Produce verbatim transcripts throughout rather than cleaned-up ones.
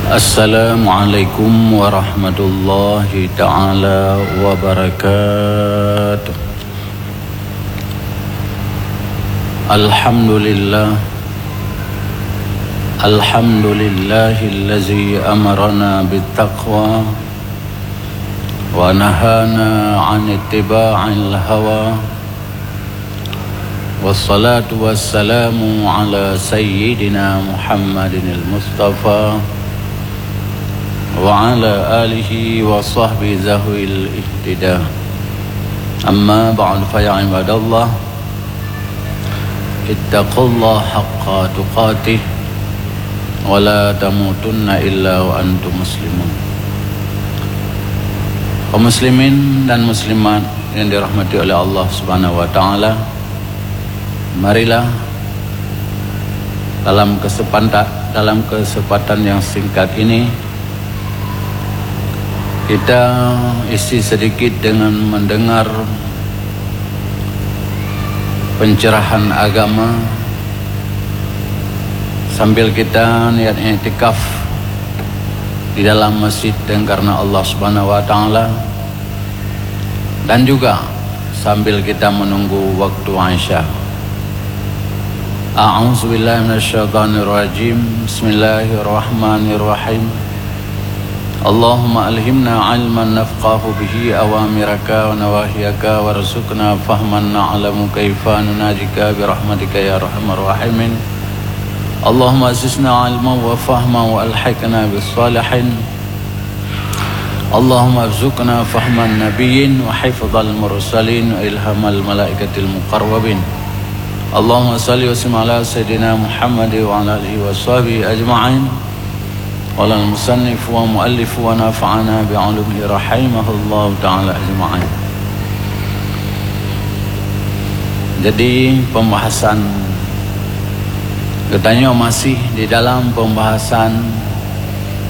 Assalamualaikum warahmatullahi taala wabarakatuh. Alhamdulillah. Alhamdulillahillazi amarana bittaqwa wa nahana 'an ittiba'il hawa. Wassalatu wassalamu ala sayyidina Muhammadinil Mustafa wa ala alihi wa sahbihi zawil ihtida. Amma ba'du, fa ya ibadallah, ittaqullaha haqqa tuqatih wa la tamutunna illa wa antum muslimun. Kaum muslimin dan muslimat yang dirahmati oleh Allah Subhanahu wa taala, marilah dalam kesempatan, dalam kesempatan yang singkat ini, kita isi sedikit dengan mendengar pencerahan agama sambil kita niat iktikaf di dalam masjid dan karena Allah Subhanahu wa taala, dan juga sambil kita menunggu waktu Isya. A'udzubillahi minasyaitonirrajim. Bismillahirrahmanirrahim. Allahumma alhimna ilman nafqahu bihi awamiraka wa nawahiyaka warzuqna fahman na'lamu kaifa nunajika birahmatika ya arhamar rahimin. Allahumma zidna ilman wa fahman wa alhiqna bis salihin. Allahumma rzuqna fahman nabiyyin wa hifdzal mursalin wa ilhamal malaikatil muqarrabin. Allahumma shalli wa sallim ala sayyidina Muhammad wa ala alihi wa sahbihi ajma'in. Qala al-musannif wa muallif wa nafa'ana bi ulumihi rahimahullahu ta'ala ajma'in. Jadi, pembahasan geutanyoe masih di dalam pembahasan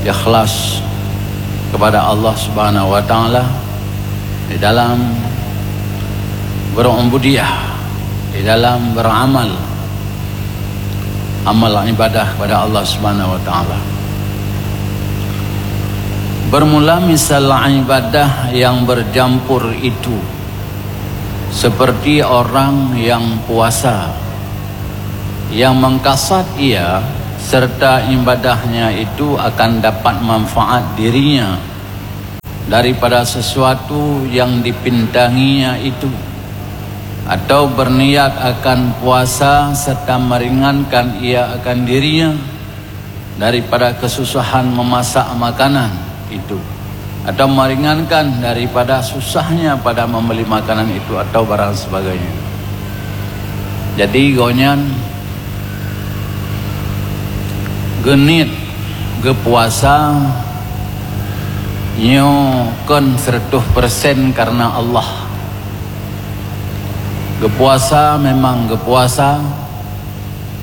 ikhlas kepada Allah Subhanahu wa taala, di dalam berubudiyah, di dalam beramal, amal ibadah kepada Allah Subhanahu wa taala. Bermula misal ibadah yang bercampur itu, seperti orang yang puasa, yang mengkasad ia serta ibadahnya itu akan dapat manfaat dirinya daripada sesuatu yang dipintanginya itu, atau berniat akan puasa serta meringankan ia akan dirinya daripada kesusahan memasak makanan itu, atau meringankan daripada susahnya pada membeli makanan itu atau barang sebagainya. Jadi, gobnyan geuniet geupuasa nyoe kon seratus persen karena Allah. Geupuasa memang geupuasa,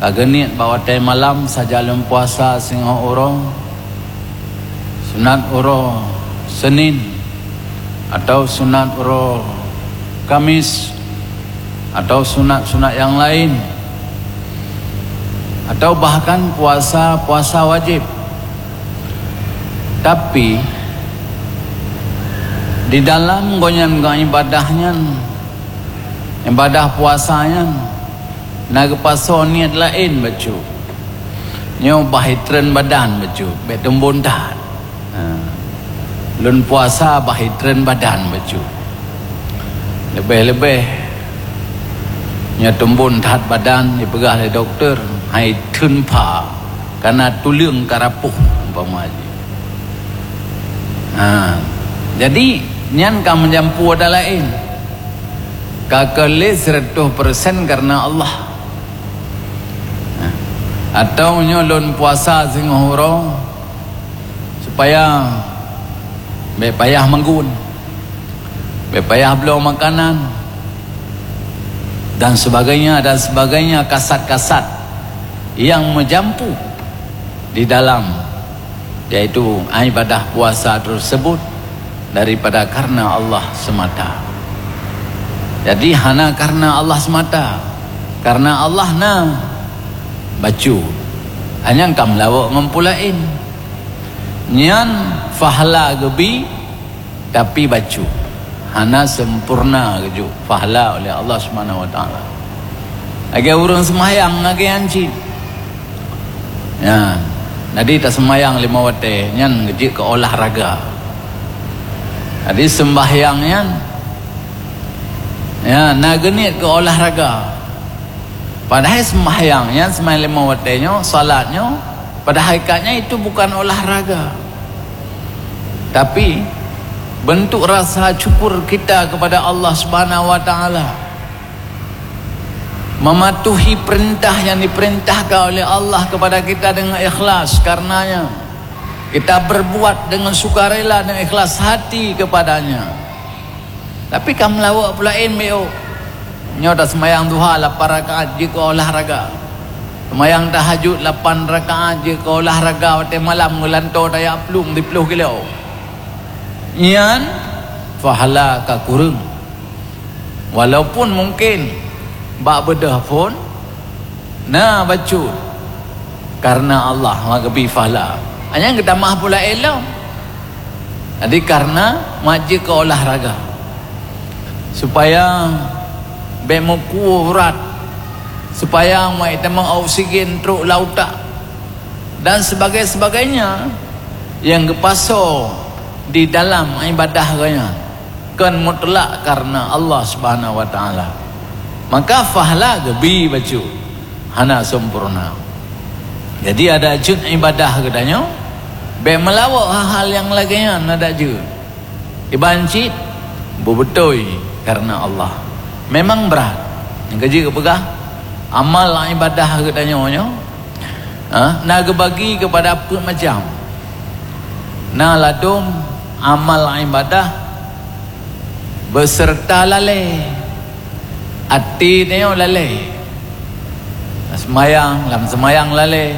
ka geuniet bak watée malam saja lôn puasa singoh uroe, sunat uroe Senin, atau sunat uroe Kamis, atau sunat-sunat nyang laén, atau bahkan puasa-puasa wajéb. Tapi, di dalam gobnyan geuibadah nyan, ibadah puasa nyan, na geupasoe niet laén bacut. Nyoe bah itreun badan bacut, bék teumbon that. Ha. Lôn puasa bah itreun badan bacut. Leubeh-leubeh nyoe teumbon that badan, jipeugah lé dokto, hai theun pha, kana tuleueng ka rapoh, umpama jih. Ha. Jadi, nyan ka meujampu ata laén. Ka keu lé seratus persen karena Allah. Ha. Atau nyoe lôn puasa singoh uroe, supaya bék payah meugun, bék payah bloe makanan, dan sebagainya, dan sebagainya, kasat-kasat yang meujampu di dalam, yaitu ibadah puasa tersebut daripada karena Allah semata. Jadi, hana karena Allah semata. Karena Allah na bacut. Hanya ka meulawok ngon peue laén. Nyan fahla geubi, tapi bacut. Hana sempurna geujok fahla oleh Allah Subhanahu wa Taala. Lagèe ureueng seumayang lagèe nyan cit. Ya, jadi taseumayang lima watèe nyan geujeuet keu olahraga. Jadi seumbahyang nyan, ya, na geuniet keu olahraga. Padahai seumbahyang nyan, seumbahyang lima watèe nyoe, salat nyoe, pada hakikatnya itu bukan olahraga. Tapi, bentuk rasa syukur kita kepada Allah Subhanahu wa Taala. Mematuhi perintah yang diperintahkan oleh Allah kepada kita dengan ikhlas. Karenanya, kita berbuat dengan sukarela dan ikhlas hati kepada-Nya. Tapi ka meulawok peue laén, bèk. Nyoe taseumayang duha lapan rakaat jeuet keu olahraga. Seumayang tahajud lapan rakaat jeuet keu olahraga, watèe malam geulantoe tajak plueng siplôh kilo. Nyan, fahla ka kureueng. Walaupun mungken bak beudôh phôn na bacut, kareuna Allah meugeubri fahla. Hanya geutamah pula ilôn. Jadi, kareuna meuhat jeuet keu olahraga, supaya bèk meukuwoe urat, supaya meuhat tamong oksigen trok lam utak, dan sebagainya-sebagainya nyang geupasoe di dalam ibadah geuh nyan. Kon mutlak kareuna Allah Subhanahu wa Taala. Maka fahla geubi bacut, hana sempurna. Jadi, adak jeuet ibadah geutanyoe, bèk meulawok hal-hal nyang lagèe nyan adak jeuet. Iban cit beubeutôi kareuna Allah. Memang brat. Nyang ka jeuet geupeugah, amal ibadah geutanyoe nyoe, ha, na geubagi keupada peuet macam. Na ladôm amal ibadah beuseureuta lalè. Até tanyoe lalè. Seumayang, lam seumayang lalè.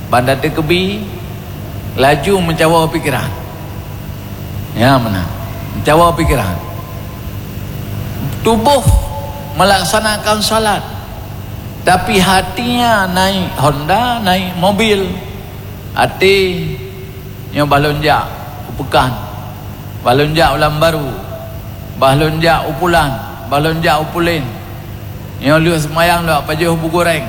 Ban tateukeubie, laju meucawa pikiran. Ya, meunan. Meucawa pikiran. Tuboh meulaksanakan salat, tapi hatinya naik Honda, naik mobil. Até nyoe bah lôn jak u peukan, bah lôn jak u Lambaru, bah lôn jak u Pulan, bah lôn jak u Pulen. Nyoe lheueh seumayang lôn pajoh bu goreng.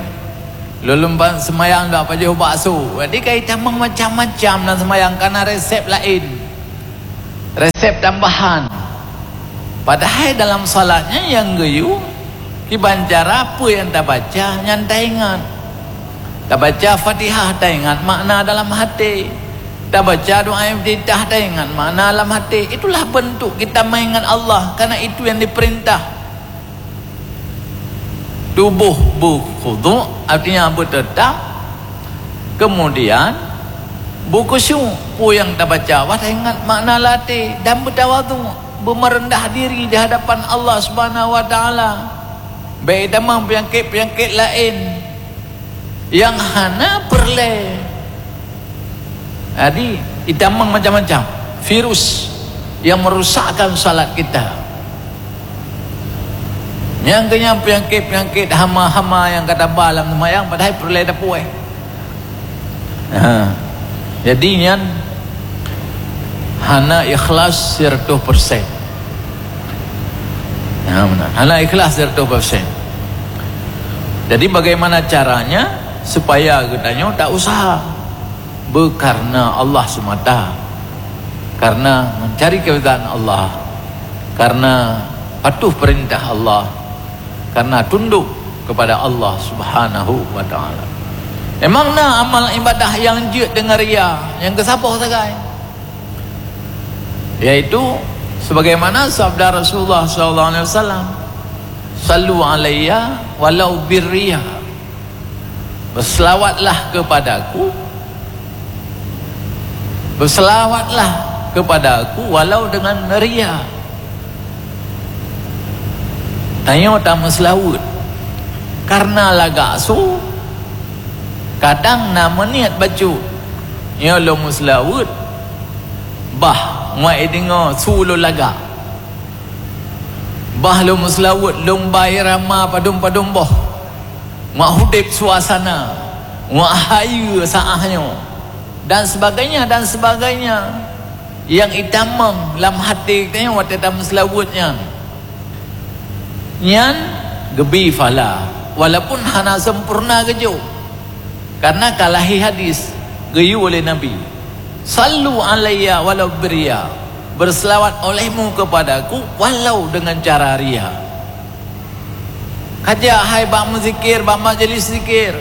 Lôn lôn seumayang lôn pajoh bakso. Jadi, ka itamong macam-macam lam seumayang, ka na resep laén. Resep tambahan. Padahai dalam salat nyan nyang geuyue, kiban cara peue nyang tabaca nyan taingat. Tabaca Fatihah taingat makna dalam até. Tabaca doa iftitah taingat makna dalam até. Itulah bentuk kita meuingat Allah, karena itu yang diperintah. Tuboh beukhudu', artinya beuteutap. Kemudian, beukhusyuk, peue nyang tabaca, bah taingat makna lam até dan beutawadhu', beumeureundah diri di hadapan Allah Subhanahu wa Taala. Bèk itamong peunyakét-peunyakét laén nyang hana peureulèe. Jadi, itamong macam-macam virus yang merusakkan salat kita. Nyang keunyan peunyakét-peunyakét hama-hama nyang ka taba lam seumayang, padahai peureulèe tapuwoe. Ha. Jadi, nyan hana ikhlas siratoh persen. Ha, meunan. Hana ikhlas siratoh persen. Jadi, bagaimana caranya supaya geutanyoe tak usaha? Beukareuna Allah semata, kareuna mencari keridhaan Allah, kareuna patuh peurintah Allah, kareuna tundok keupada Allah Subhanahu wa Taala. Memang na amal ibadah nyang jeuet deungon ria, nyang geusaboh sagai, yaitu sebagaimana sabda Rasulullah sallallahu alaihi wasallam, "Sallu alayya walau birriya." Beuseulawatlah keupadaku, beuseulawatlah keupadaku walau deungon ria. Tanyoe tameuseulaweuet kareuna lagak su, kadang na meuniet bacut, nyoe lôn meuseulaweuet, bah, ngon ideungoe su lôn lagak. Bah lôn meuseulaweuet, lôn ba irama padum-padum boh. Ngon udeb suasana, ngon hayeue saát nyoe. Dan sebagainya, dan sebagainya. Nyang itamong lam hati geutanyoe watée tameuseulaweuet nyan, nyan geubi pahala, walaupun hana sempurna geujok. Karena ka lahé hadis geuyue lé Nabi, "Sallu alayya walau birriya." Berselawat olehmu kepadaku walau dengan cara ria. Kajak hai bak meuzikir, bak majlis zikir,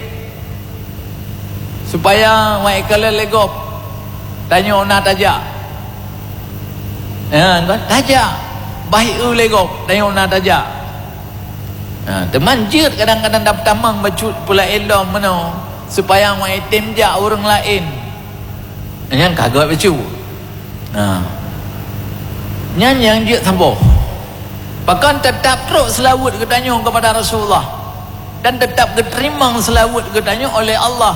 supaya wak ikalon lé gob tanyoe na tajak. Ya, kan? Tajak. Bah eu lé gob tanyoe na tajak. Ha, teuma jeuet kadang-kadang dap tamong bacut peulaén lom meunoe, supaya wak item jak ureuëng laén. Nyan ka gét bacut. Nah, nyan nyang jeuet saboh. Pakon teutab trok seulaweuet geutanyoe keupada Rasulullah dan teutab geuteurimong seulaweuet geutanyoe oleh Allah,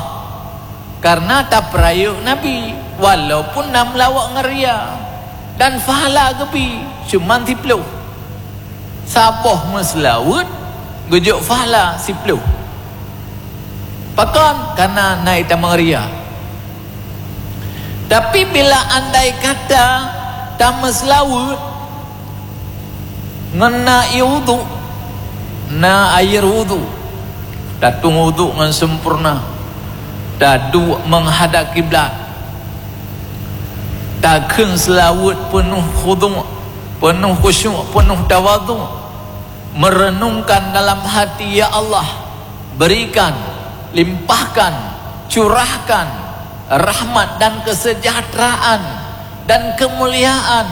karena tapeurayeuk Nabi, walaupun na meulawok ngon ria, dan pahala geubi cuman siploh. Saboh meuseulaweuet geujok pahala siploh. Pakon? Karena na itamong ria. Tapi bila andai kata tameuseulaweuet ngon na ié wudhu, na air wudhu, tatueng wudhu ngon sempurna, taduek menghadap kiblat, takheun seulaweuet peunoh khudu', peunoh khusyuk, peunoh tawadhu, meureunungkan dalam hati, "Ya Allah, berikan, limpahkan, curahkan rahmat dan kesejahteraan dan kemuliaan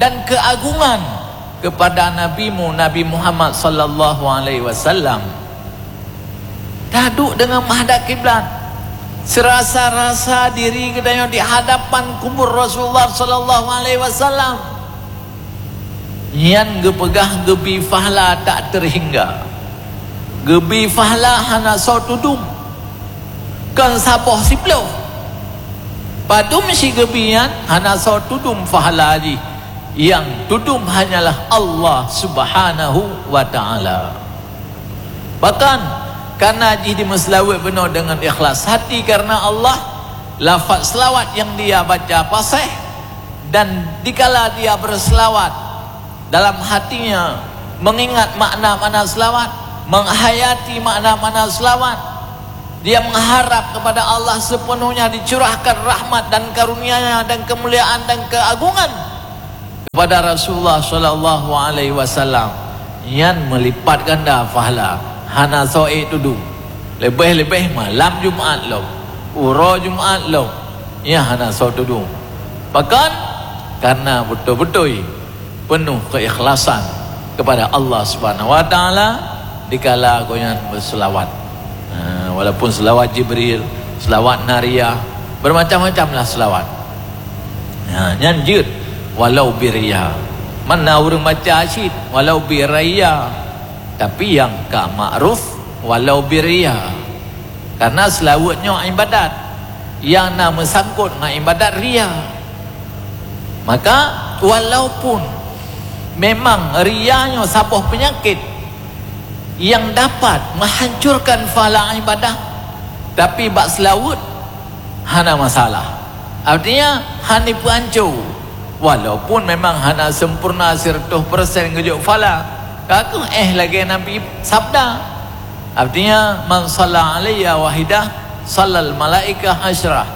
dan keagungan kepada Nabi-Mu, Nabi Muhammad sallallahu alaihi wasallam." Taduek deungon menghadap kiblat, seurasa-rasa diri geutanyoe di hadapan kubur Rasulullah sallallahu alaihi wasallam. Nyan geupeugah geubi pahala tak teuhingga. Geubi pahala hana soe tudum, kon saboh siploh. Padum si geubi nyan hana soe tudum pahala jih, nyang tudum hanyalah Allah Subhanahu wa Ta'ala. Bahkan, karena jih dimeuseulaweuet bunoe deungon ikhlas hati karena Allah, lafaz seulawat nyang dia baca paséh, dan dikala dia beuseulawat, dalam hatinya mengingat makna-makna seulawat, menghayati makna-makna seulawat, dia mengharap kepada Allah sepenuhnya dicurahkan rahmat dan karunia-Nya dan kemuliaan dan keagungan kepada Rasulullah sallallahu alaihi wasallam, nyan meulipat ganda pahala, hana soe tudum. Leubeh-leubeh malam Jumat lom, uroe Jumat lom, nyan hana soe tudum. Pakon? Karena beutôi-beutôi peunoh keikhlasan kepada Allah Subhanahu wa Ta'ala dikala gobnyan beuseulawat. Ha, walaupun seulawat Jibril, seulawat Nariyah, bermacam-macamlah seulawat. Ha, nyan jeuet walau biria. Mana ureuëng baca cit walau biria, tapi nyang ka makruf walau biria. Karena seulaweuet nyoe ibadat, nyang na meusangkot ngon ibadat ria. Maka, walaupun memang ria nyoe saboh peunyakét nyang dapat meuhancurkan pahala ibadah, tapi bak seulaweuet hana masalah. Artinya, hana ipeuhanco. Walaupun memang hana sempurna siratoh persen geujok pahala, ka kheueh lagée Nabi sabda. Artinya, "Man shalla alayya wahidah, shallal malaikah asyrah."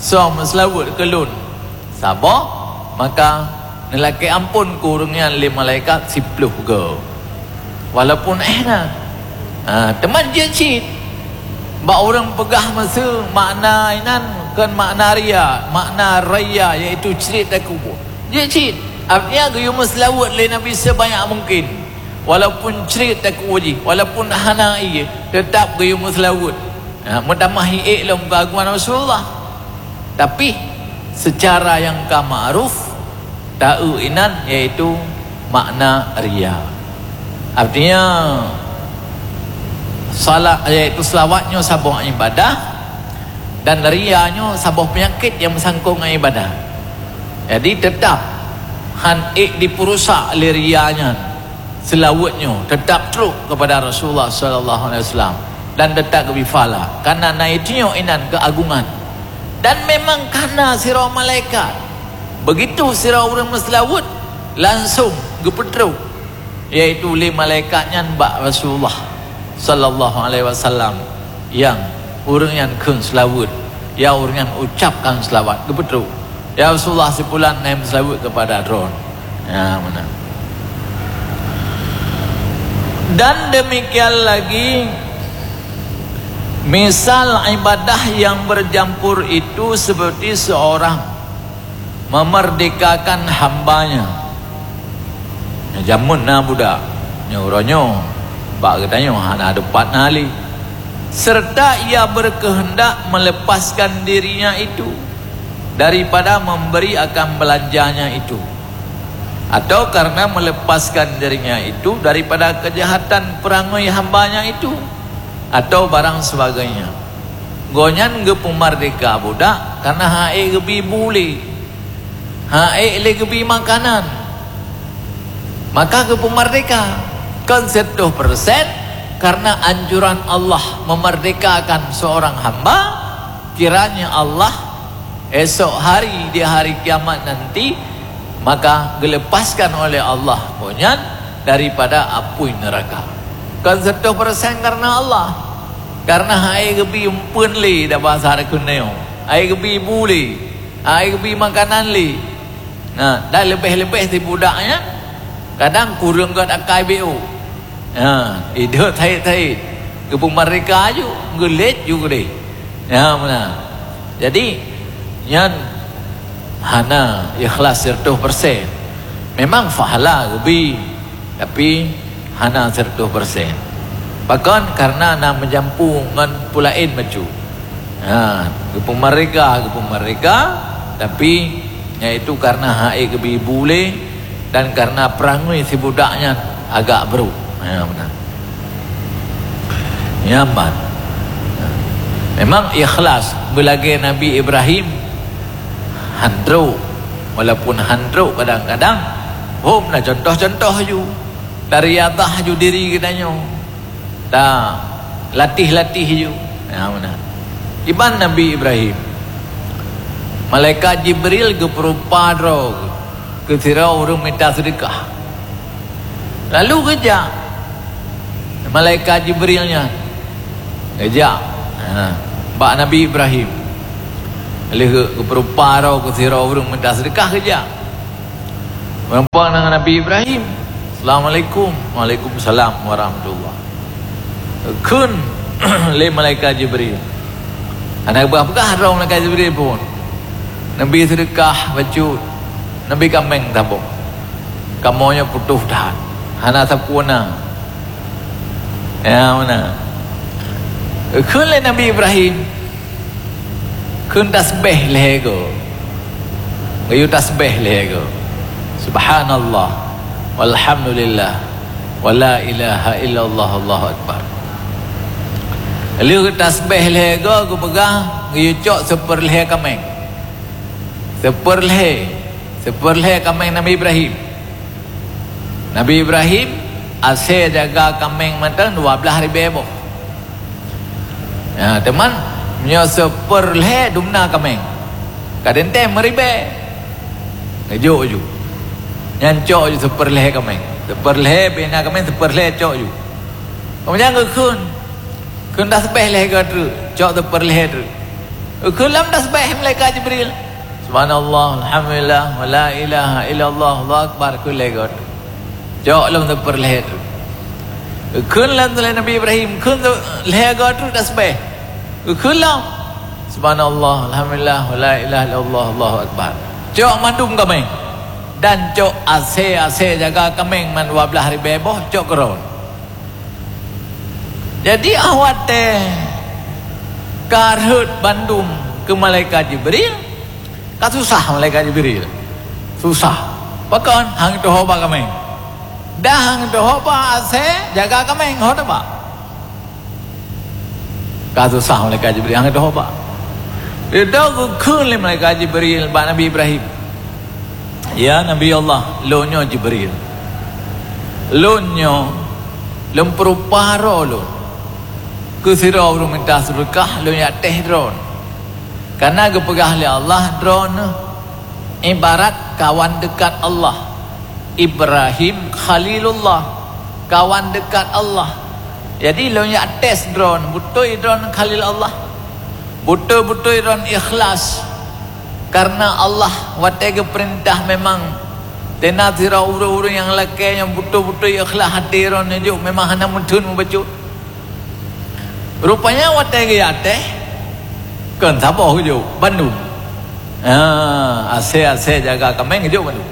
Soe meuseulaweuet keu lôn saboh, maka neulakée amphon keu ureuëng nyan lé malaikat siploh goe. Walaupun éh na. Ha, teuma jeuet cit. Bak ureuëng peugah miseue makna inan kon makna ria, makna ria yaitu crit takue. Jeuet cit. Artinya geuyue meuseulaweuet lé Nabi sebanyak mungkin. Walaupun crit takue jih, walaupun hana ié, teutap geuyue meuseulaweuet. Ha, meutamah ié lom keuagungan Rasulullah. Tapi, seucara nyang ka ma'ruf, taeu inan yaitu makna ria. Artinya, salat, yaitu seulawat nyoe saboh ibadah, dan ria nyoe saboh peunyakét nyang meusangkot ngon ibadah. Jadi, teutap han ék dipeurusak lé ria nyan. Seulaweuet nyoe teutap trok keupada Rasulullah sallallahu alaihi wasallam dan teutap geubri pahala, kareuna na itanyoe inan keuagungan. Dan memang kana sidroe malaikat. Begitu sidroe ureuëng meuseulaweuet, langsong geupeutrok, yaitu lé malaikat nyan bak Rasulullah sallallahu alaihi wasallam, nyang ureuëng nyan kheun seulaweuet, ya ureuëng nyan ucapkan seulaweuet, geupeutrok, "Ya Rasulullah, si pulan na meuseulaweuet keupada droe." Ya, meunan. Dan demikian lagi, misal ibadah yang bercampur itu seperti seorang memerdekakan hambanya. Jameun na budak, nyoe uroe nyoe, bak geutanyoe hana deupat na lé. Serta ia berkehendak melepaskan dirinya itu daripada memberi akan belanjanya itu, atau karena melepaskan dirinya itu daripada kejahatan perangai hambanya itu, atau barang sebagainya. Gobnyan geupeumerdeka budak karena han ék geubi bu lé, han ék lé geubi makanan, maka geupeumerdeka. Kon seutoh persen karena anjuran Allah memerdekakan seorang hamba, kiranya Allah esok hari di hari kiamat nanti, maka geulepaskan oleh Allah gobnyan daripada apui neraka. Kon seutoh persen karena Allah, karena han ék geubi umpeuen lé, dak bahasa keuneuk, han ék geubi bu lé, han ék geubi makanan lé. Nah, dan leubeh-leubeh si budak nyan kadang kureueng gét akai B O. Ha, idot thait-thait. Geupeumerdeka ju, geulét ju keudeh. Ya, meunan. Jadi, nyan hana ikhlas seratus persen. Memang pahala geubi, tapi hana seratus persen. Pakon? Karena na meujampu ngon peue laén bacut. Ha, geupeumerdeka, geupeumerdeka, tapi, yaitu karena han ék geubi bu lé dan karena peurangui si budak nyan agak brok. Ha, meunan. Nyan ban. Memang ikhlas beulagée Nabi Ibrahim han trok, walaupun han trok kadang-kadang, hom na contoh-contoh ju, tariyadah ju diri geutanyoe. Ta latih-latih ju. Ya, meunan. Iban Nabi Ibrahim, malaikat Jibril geupeurupa droe keu sidroe ureuëng mita seudeukah. Lalu geujak malaikat Jibril nyan, geujak, ha, bak Nabi Ibrahim. Lheueh geupeurupa droe keu sidroe ureuëng mita seudeukah, geujak. Meureumpok ngon Nabi Ibrahim. "Assalamualaikum." "Waalaikumsalam warahmatullah." Kheun lé malaikat Jibril. Hana geupeugah-peugah droe malaikat Jibril pun. Neubi seudeukah bacut, neubi kaméng saboh. Kamoe nyoe putôh that. Hana sapeue na. Ya, meunan. Kheun lé Nabi Ibrahim, kheun tasbeh lhée goe. Geuyue tasbeh lhée goe. Subhanallah, walhamdulillah, wala ilaha illallah, Allahu akbar. Lheueh tasbeh lhée goe geupeugah, geuyue cok seupeurlhée kaméng. Seupeurlhée, seupeurlhée kaméng Nabi Ibrahim. Nabi Ibrahim asée jaga kaméng mantong dua blaih ribée boh. Ya, teuma nyoe seupeurlhée dumna kaméng. Kadang teuh meuribée. Geujok ju. Nyan cok ju seupeurlhée kaméng. Seupeurlhée bina kaméng, seupeurlhée cok ju. Keumudian geukheun. Kheun tasbeh lhée goe treuk, cok seupeurlhée treuk. Kheun lom tasbeh malaikat Jibril. Subhanallah, alhamdulillah, wa la ilaha illallah, Allahu akbar, kheun lhée goe treuk. Cok lom seupeurlhée treuk. Kheun lom lé Nabi Ibrahim, kheun lhée goe treuk tasbeh. Kheun lom. Subhanallah, alhamdulillah, wa la ilaha illallah, Allahu akbar. Cok mandum kaméng. Dan cok asée-asée jaga kaméng man dua blaih ribée boh, cok keudroe. Jadi, awak teuh ka rhot bandum keu malaikat Jibril, ka susah malaikat Jibril. Susah. Pakon? Han teuhoba kaméng. Dah han teuhoba asée jaga kaméng, ho teuba. Ka susah malaikat Jibril, han teuhoba. Didoe geukheun lé malaikat Jibril bak Nabi Ibrahim. "Ya Nabi Allah, lôn nyoe Jibril. Lôn nyoe lôn peurupa droe lôn. Keu sidroe ureuëng mita seudeukah lôn jak teh droe. Karena geupeugah lé Allah, "Droeneuh ibarat kawan dekat Allah, Ibrahim Khalilullah, kawan dekat Allah." Jadi lôn jak tes droeneuh, beutôi droeneuh Khalil Allah, beutôi-beutôi droeneuh ikhlas karena Allah. Watée geupeurintah memang teunatirau ureuëng-ureuëng nyang lakée nyang beutôi-beutôi ikhlas até droeneuh jok, memang hana meutheun mubacut. Rupanya watée geujak tes, kon saboh geujok bandum. Ha, asée-asée jaga kaméng geujok bandum.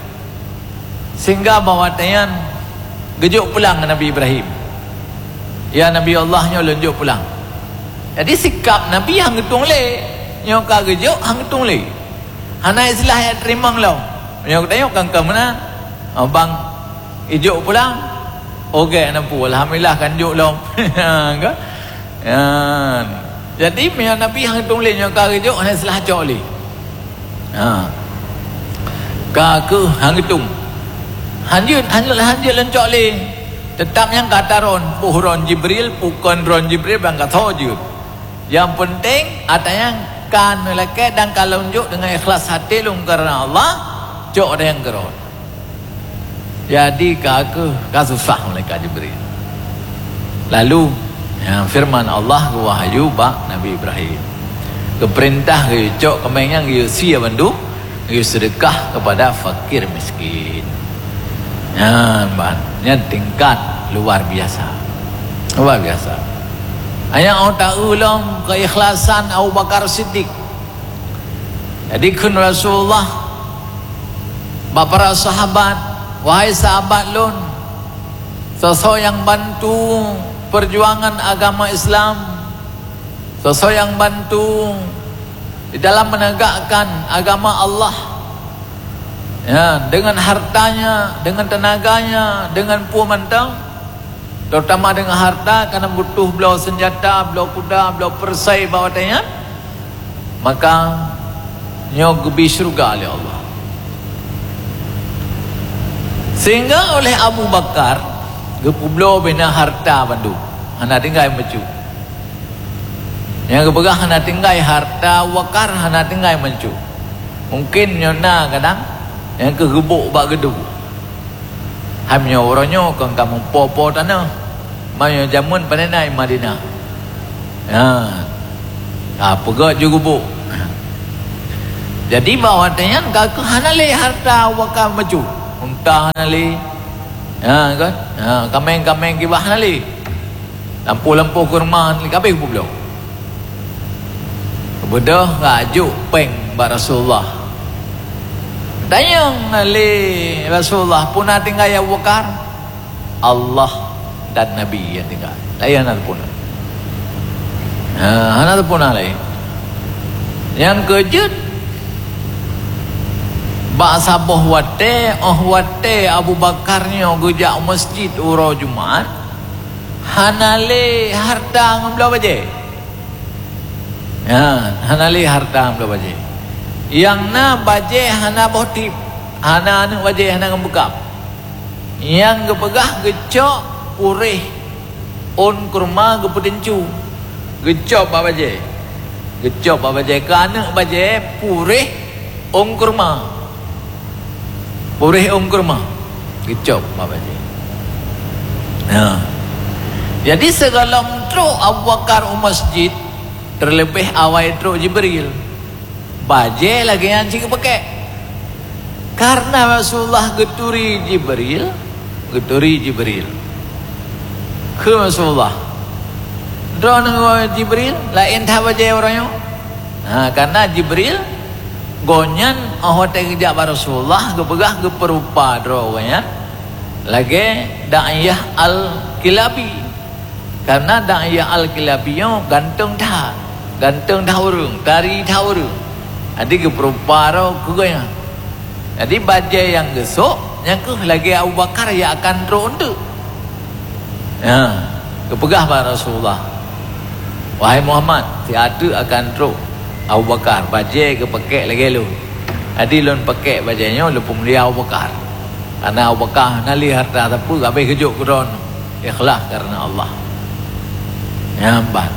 Sehingga bak watée nyan geujok pulang Nabi Ibrahim. "Ya Nabi Allah, nyoe lôn jok pulang." Jadi sikap Nabi han geutueng lé, nyoe ka geujok han geutueng lé. Hana istilah jak teurimong lom. Nyoe geutanyoe kan ka meunan. Oh, bang, ijok pulang. Oke, nampu. Alhamdulillah kan jok lom. Kan? Nyan. Jadi, meunyoe Nabi han geutueng lé, nyoe ka geujok, hana istilah cok lé. Ha. Ka keuh han geutueng. Hanjeuet, hanjeuet, hanjeuet lôn cok lé. Teutap nyang ka taron, boh ron Jibril, bukon ron Jibril, bang ka tho jeuet. Nyang peunteng, ata nyang ka neulakée dan ka lôn jok deungon ikhlas até lôn kareuna Allah, cok ata nyang keurot. Jadi, ka keuh, ka susah malaikat Jibril. Lalu, ya, firman Allah geuwahyu bak Nabi Ibrahim. Geupeurintah geuyue cok kaméng nyan, geuyue sie bandum, geuyue seudeukah keupada fakir miskin. Nyan ban, nyan tingkat luar biasa. Luar biasa. Hanya Allah Ta'ala lom keikhlasan Abu Bakar Siddiq. Jadi kheun Rasulullah bak para sahabat, "Wahai sahabat lôn, soe-soe nyang bantu perjuangan agama Islam, soe-soe nyang bantu di dalam menegakkan agama Allah, ya, dengan hartanya, dengan tenaganya, dengan peue mantong, terutama dengan harta, karena butuh bloe senjata, bloe kuda, bloe perisai bak watée nyan, maka nyoe geubi syeuruga lé Allah." Sehingga oleh Abu Bakar geupeubloe bina harta bandum, hana tinggai meucue. Nyang geupeugah hana tinggai harta Abu Bakar, hana tinggai meucue. Mungkin nyoe na kadang nyang keuh geubok bak geudu. Hai meunyoe uroe nyoe kon ka meupo-po tanoh. Meunyoe jameun pane na i Madinah. Ha. Ha, peugöt ju gubuk. Jadi bak watée nyan ka keuh hana lé harta Abu Bakar meucue. Unta hana lé. Ha, kan? Ha, kaméng-kaméng kiban hana lé. Lampôh-lampôh kurma hana lé, ka habéh geupubloe. Beudôh ka jok péng bak Rasulullah. Tanyong lé Rasulullah, "Peue na tinggai Abu Bakar?" "Allah dan Nabi nyang tinggai. Laén hana teupeu na." Ha, hana teupeu na laén. Nyang keujeuet, bak saboh watée, óh watée Abu Bakar nyoe geujak u masjid uroe Jumat, hana lé harta ngon bloe bajée. Ha, hana lé harta ngon bloe bajée. Nyang na bajée hana boh tieb, hana aneuëk bajée, hana ngon beukab. Nyang geupeugah geucok puréh ôn kurma geupeuteuncue, geucok bak bajée. Geucok bak bajée, keu aneuëk bajée puréh ôn kurma. Puréh ôn kurma. Geucok bak bajée. Ha. Jadi, sigohlom trok Abu Bakar u masjid, teuleubeh awai trok Jibril, bajée lagée nyan cit geupakék. Karena Rasulullah geuturi Jibril, geuturi Jibril. Kheun Rasulullah, "Droeneuh ngon Jibril laén that bajée uroe nyoe?" Ha, karena Jibril, gobnyan óh watée geujak bak Rasulullah, geupeugah geupeurupa droe gobnyan lagée Da'iyah Al-Kilabi. Karena Da'iyah Al-Kilabi nyoe ganteng that, ganteng that ureuëng, tari that ureuëng. Jadi geupeurupa droe keu gobnyan. Jadi bajée nyang geusok, nyan keuh lagée Abu Bakar nyang akan trok eunteuk. Ha, geupeugah bak Rasulullah, "Wahai Muhammad, siat teuk akan trok Abu Bakar, bajée geupakék lagée lôn. Jadi lôn pakék bajée nyoe lôn peumulia Abu Bakar. Karena Abu Bakar hana lé harta sapeue, ka habéh geujok keu droeneuh, ikhlas karena Allah." Nyan ban.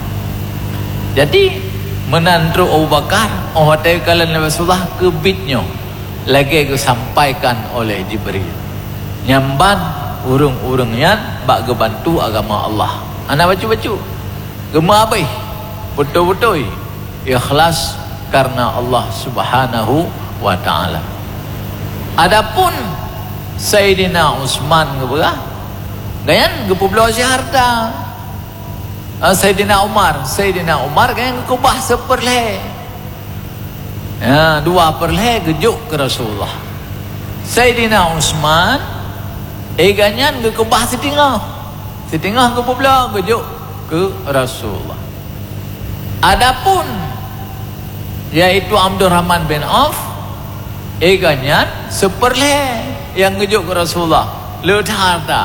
Jadi, Meunan trok Abu Bakar, óh watée kalon lé Rasulullah keubiet nyoe, lagée geusampaikan oleh Jibril. Nyan ban ureuëng-ureuëng nyan bak geubantu agama Allah. Hana bacut-bacut. Geumeuabéh, beutôi-beutôi ikhlas karena Allah Subhanahu wa Ta'ala. Adapun Saidina Utsman geupeugah, gobnyan geupeubloe cit hareuta. Ah, Saidina Umar, Saidina Umar gobnyan geukeubah seupeurlhée. Ya, dua peurlhée geujok keu Rasulullah. Saidina Utsman, eh, gobnyan geukeubah siteungoh. Siteungoh geupeubloe geujok keu Rasulullah. Adapun, yaitu Abdurrahman bin Auf, eh, gobnyan seupeurlhée nyang geujok keu Rasulullah. Le that hareuta.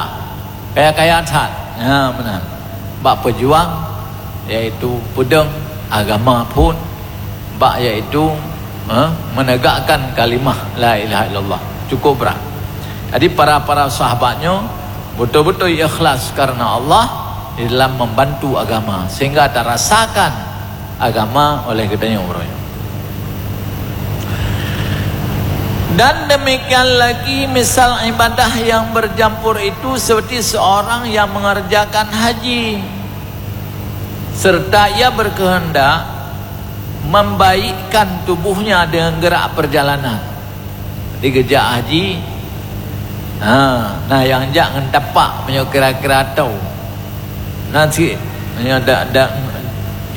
Kaya-kaya that. Ya, meunan. Bak peujuang, yaitu peudong agama phon, bak yaitu, eh, menegakkan kalimah la ilaha illallah. Cukup brat. Jadi, para-para sahabat nyoe beutôi-beutôi ikhlas karena Allah di dalam membantu agama, sehingga tarasakan agama oleh geutanyoe uroe nyoe. Dan demikian lagi misal ibadah yang bercampur itu seperti seorang yang mengerjakan haji, serta ia berkehendak membaikkan tubuhnya dengan gerak perjalanan. Di geujak haji, ha, na nyang jak ngon tapak meunyoe kira-kira toe. Na cit, meunyoe dak, dak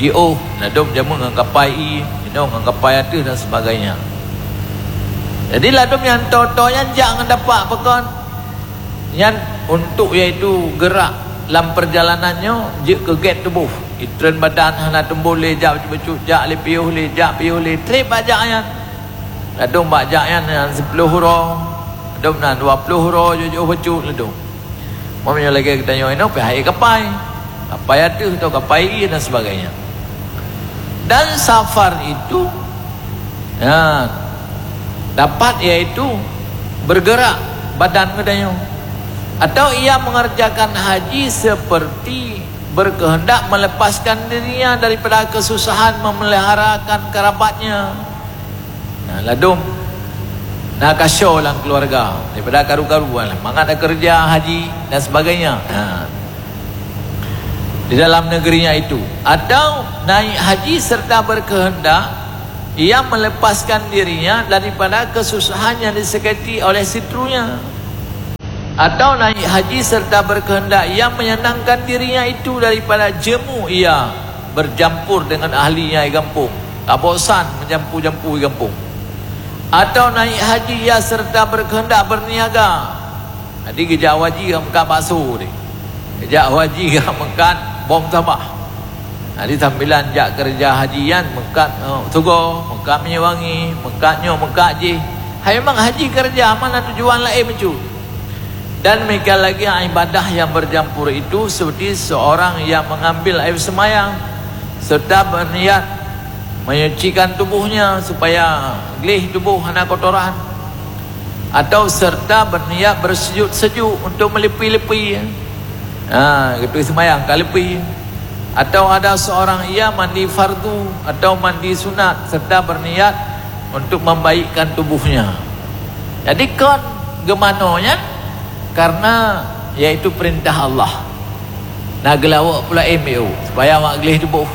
jiôh, ladôm jamén ngon kapai ié, inoe ngon kapai ateueh dan sebagainya. Jadi ladôm nyang toe-toe nyan jak ngon tapak pakon. Nyan untuk yaitu gerak lam perjalanan nyoe jeuet keu gét tuboh. Itreun badan hana teumbon lé jak bacut-bacut, jak lé piôh lé, jak piôh lé, trép bak jak nyan. Ladôm bak jak nyan, nyan siploh uroe, ladôm na dua ploh uroe jiôh bacut ladôm. Meunyoe lagée geutanyoe inoe pih hai kapai, kapai ateueh atau kapai ié dan sebagainya. Dan safar itu, ya, dapat yaitu bergerak badan geutanyoe. Atau ia mengerjakan haji seperti berkehendak melepaskan dirinya daripada kesusahan memeliharakan kerabatnya. Nah, ladôm na kasoe lam keluarga daripada karu-karu, mangat dak keureuja haji dan sebagainya. Nah, di dalam negerinya itu, atau naik haji serta berkehendak ia melepaskan dirinya daripada kesusahan yang disakiti oleh seutrunya, atau naik haji serta berkehendak ia menyenangkan dirinya itu daripada jemu ia bercampur dengan ahlinya di gampông, ka bosan meujampu-jampu di gampông. Atau naik haji ia serta berkehendak berniaga. Jadi geujak haji ka meukat bakso deh. Geujak haji ka meukat bom sabah. Jadi sambilan jak keureuja haji nyan meukat, eh, sugo, meukat minyeuk wangi, meukat nyoe, meukat jih. Hai memang haji keureuja, mana tujuan laén bacut. Dan demikian lagi ibadah yang bercampur itu seperti seorang yang mengambil air semayang serta berniat menyucikan tubuhnya supaya gleh tubuh hana kotoran, atau serta berniat bersujud sejuk untuk melepi-lepi. Ha, geutui semayang ka lepi. Atau ada seorang ia mandi fardu atau mandi sunat serta berniat untuk membaikkan tubuhnya. Jadi kon geumanoe nyan karena yaitu perintah Allah. Na geulawok pula M U supaya awak gleh tuboh,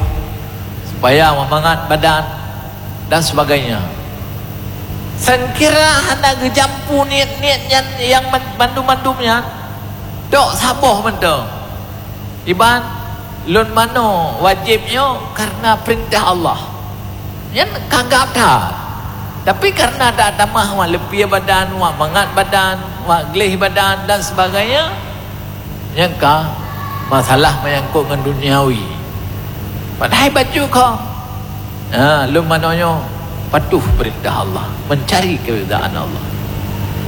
supaya awak mangat badan dan sebagainya. Sangkira hana geujampu niet-niet nyan nyang man-, mandum-mandum nyan, tok saboh mantong. Iban lôn manoe wajéb nyoe kareuna peurintah Allah. Nyan ka gab that. Tapi kareuna tatamah wak leupie badan, wak mangat badan, wak gleh badan dan sebagainya, nyan ka masalah meunyangkot ngon duniawi. Padahai bacut kong. Ha, lôn manoe nyoe patuh peurintah Allah, meucari keuridaan Allah.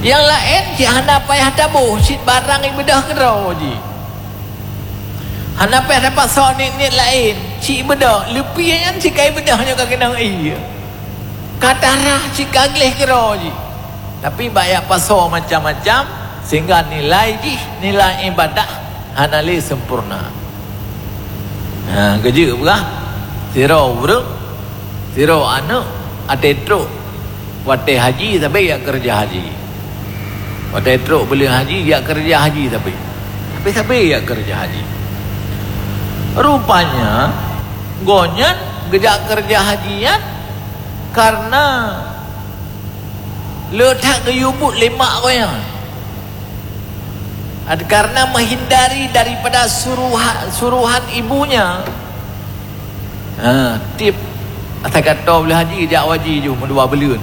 Nyang laén cit hana payah taboh, cit barang ibeudôh keudroe jih. Hana payah tapasoe niet-niet laén, cit ibeudôh, leupie nyan cit ka ibeudôh nyoe ka keunong ie. Ka tarah cit ka gleh keudroe jih. Tapi bak jak pasoe macam-macam, sehingga nilai jih, nilai ibadah hana lé sempurna. Ha, geujeuet peugah, sidroe ureuëng Sidroe aneuk até trok watée haji sabe jak keureuja haji. Watée trok buleuen haji jak keureuja haji sabe. Sabe-sabe jak keureuja haji. Rupanya gobnyan geujak keureuja haji nyan kareuna le that geuyue buet lé mak gobnyan. Ad-, karena menghindari daripada suruha-, suruhan ibunya. Ha, tiep ata kata boleh haji, jak haji ju meudua buleuen,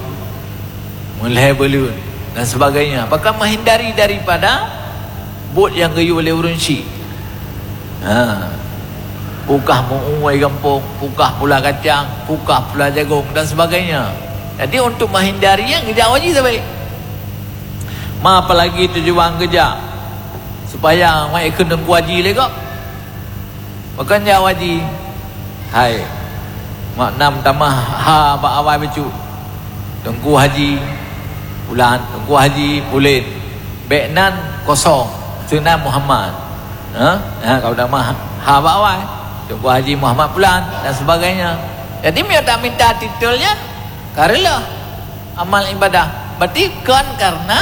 meulhèe buleuen dan sebagainya. Bahkan menghindari daripada buet nyang geuyue lé ureueng syik. Ha. Pukah meu-ué gampông, pukah pula kacang, pukah pula jagong dan sebagainya. Jadi untuk menghindari nyan geujak haji sabe. Ma apalagi tujuan geujak supaya mak ikheun teungku haji lé gob. Pakon jak haji? Hai, mak nam tamah ha bak awai bacut. Teungku haji pulan, teungku haji pulen. Bék nan kosong, seunan Muhammad. Ha? Ha, kalau tamah ha bak awai, teungku haji Muhammad pulan dan sebagainya. Jadi meunyoe tak minta titel nyan, ka reuloh amal ibadah. Berarti kon karena,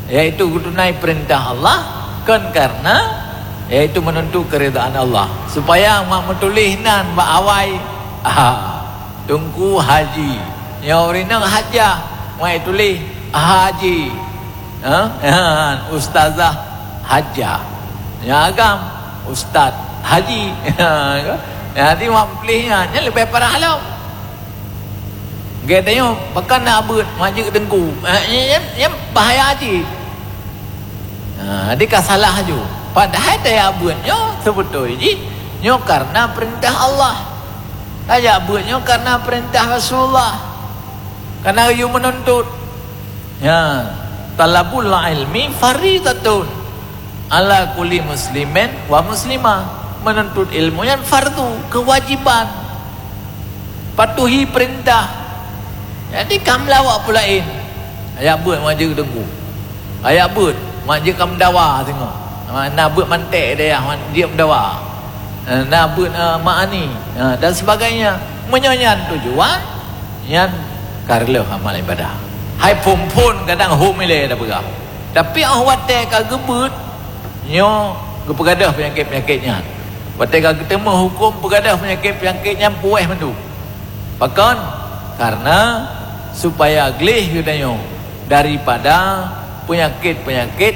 yaitu geutunai perintah Allah, kon karena, yaitu menuntut keridaan Allah. Supaya mak meutuléh nan bak awai, ha, Teungku Haji. Nyoe ureueng inong Hajah, mak tuléh Haji. Ha? Ha, Ustazah Hajah. Nyang agam, Ustaz Haji. Ha, kan? Jadi mak meutuléh nyan, nyan leubeh parah lom. Geutanyoe, pakon na beuet mak jeuet teungku? Ha, nyan, nyan, nyan bahaya cit. Ha, jadi ka salah laju. Padahai tajak beuet nyoe seubeutôi jih nyoe karena perintah Allah. Tajak beuet nyoe karena perintah Rasulullah. Karena geuyue meununtut. Ya, talabul ilmi faridatun ala kulli muslimin wa muslimah. Menuntut ilmu nyan fardu, kewajiban. Patuhi perintah. Jadi ka meulawak peue laén. Tajak beuet mak jeuet teungku. Tajak beuet mak jeuet ka meudawa singoh. Na beuet mantek dayah mak jeuet meudawa. Na beuet, eh, mak ani, eh, dan sebagainya. Meunyoe nyan tujuan, nyan ka reuloh amal ibadah. Hai phon-phon kadang hom ilée tapeugah. Tapi óh watée ka geubeuet, nyoe geupeugadôh peunyakét-peunyakét nyan. Watée ka geuteumé huköm peugadôh peunyakét-peunyakét nyan puwéh mandum. Pakon? Karena supaya gleh geutanyoe daripada peunyakét-peunyakét